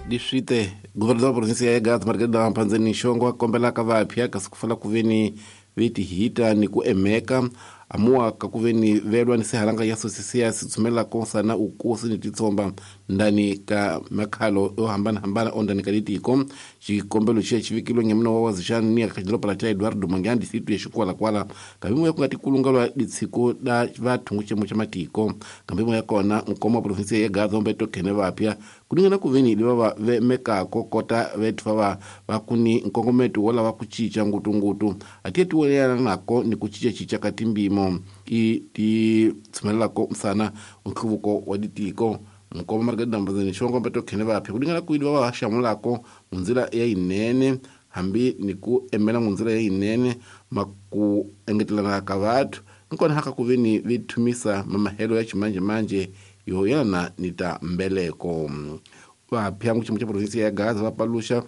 Leswite governador wa provinsia ya Gaza Margarida Mpandzeni Xongo a kombelaka vapya kasi ku fala ku veni vetihita ni ku emeka amuwa ka ku veni velwa ni sihalanga ya sosisiya sitsumelako sana ukosi ni titsomba ndani ka makhalo yo hambanahambana ondani ka litiko. Xikombelo xiya xi vekilwe ngemuna wa wazixani ni ka xidoropa xa Eduardo Mangyani distritu ya Xikwalakwala kambe ya ku nga tikulungelwa litshiko la vathu nguxemo xa matiko. Kambe ya kona nkoma wa provinsia ya Gaza ombe tokhene vapya kulingana ku veni leva va vemekako kota vethu va va kuni nkongometo wo lava ku cinca ngutungutu a ti tiwelana nako ni ku cincacinca ka timbimo i ti tshumelelako msana nhluvuko wa litiko. Nkoma Margarida Mbandzeni Xongo mbe tokhene vapya kulingana ku va va xamulako munzila ya yinene hambi ni ku emela munzila ya yinene maku engetelana ka vathu nkona haka ku veni vi thumisa mamahelo ya ximanjemanje yo yelana ni ta mbeleko. Vapya nguximo xa provinsia ya Gaza va paluxa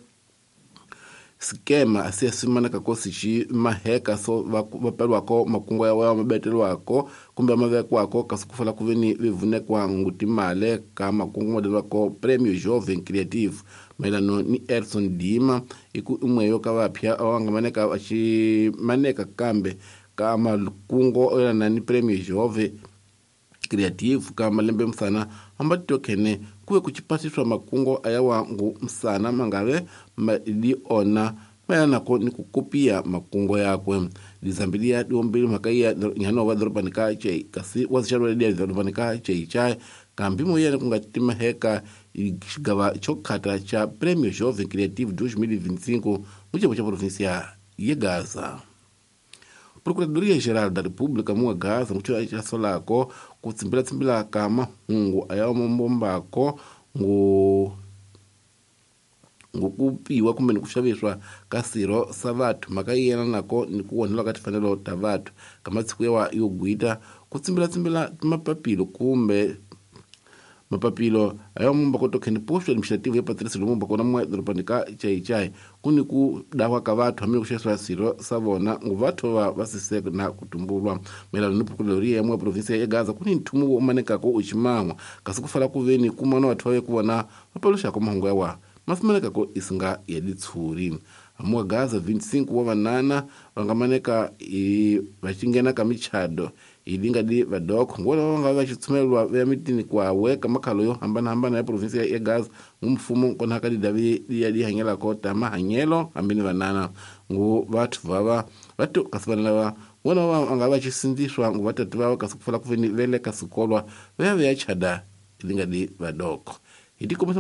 skema se simaneka ko sixi maheka so va peliwako makungu ya wa mabetelwako kumbe mavekwako kasi ku fala ku veni vivunekwa ngutimale ka makungu madelwako Premio Jovem Creative mayelano ni Erson Dima iku imwe yo ka vapya va nga maneka va xi maneka kambe ka makungu yelana ni Premio Jovem Creative ka malembe msana amba tokhene kuve kuchipasiswa makungo ayawa ngu msana mangave li ona mayanako ni kukopia makungo yakwe. Lizambilia diombili mhaka ya nyano wa dhorobani ka chei kasi wazixalwa lia dhorobani ka chei chai kambi moyena kunga timaheka xigava xokhata xa Premio Jovem Creative 2025 mucebo xa provinsia ye Gaza. Procuradoria Geral da República mua Gaza ngucho xa solako ku tsimbila ka mahungu aya mambombako ngu ngokupiwa kumbe ni ku xaviswa ka sirho sa vathu mhaka yi yena nako ni ku onheliwa ka timfanelo ta vathu ka masiku yawa yo gwita ku tsimbilatsimbila mapapilo kumbe mapapilo ayo mumba ko tokheni posto administrative ya Patrice Lumumba kona mwa dorobani ka Chaichai kuni ku dawa ka vathu hambi ku xaviswa sirho sa vona ngu vathu va va siseka na ku tumbulwa mayelana ni procuradoria ya mwa provinsia ya Gaza kuni nthumu wo manekako u ximan'wa kasi ku fala ku veni kumana vathu va ye ku vona va paluxaka mahungu yawa mafumanekako isinga ya litshuri. Amuwa Gaza 25 wa vanana va nga maneka va xingena ka michado ilinga di vadoko ngona va nga va xitshumelwa ya mitini kwawe ka makhalo yo hambanahambana ya provinsia ya Gaza ngu mfumo kona ka didavi ya dihanyelako ta mahanyelo hambi ni vanana ngu vathu vava vatu kasi vana lava ngona va nga va xisindziswa ngu vatatu vava kasi ku fala ku veni vele ka sikolwa va ya va ya chada ilinga di vadoko hi tikomisa.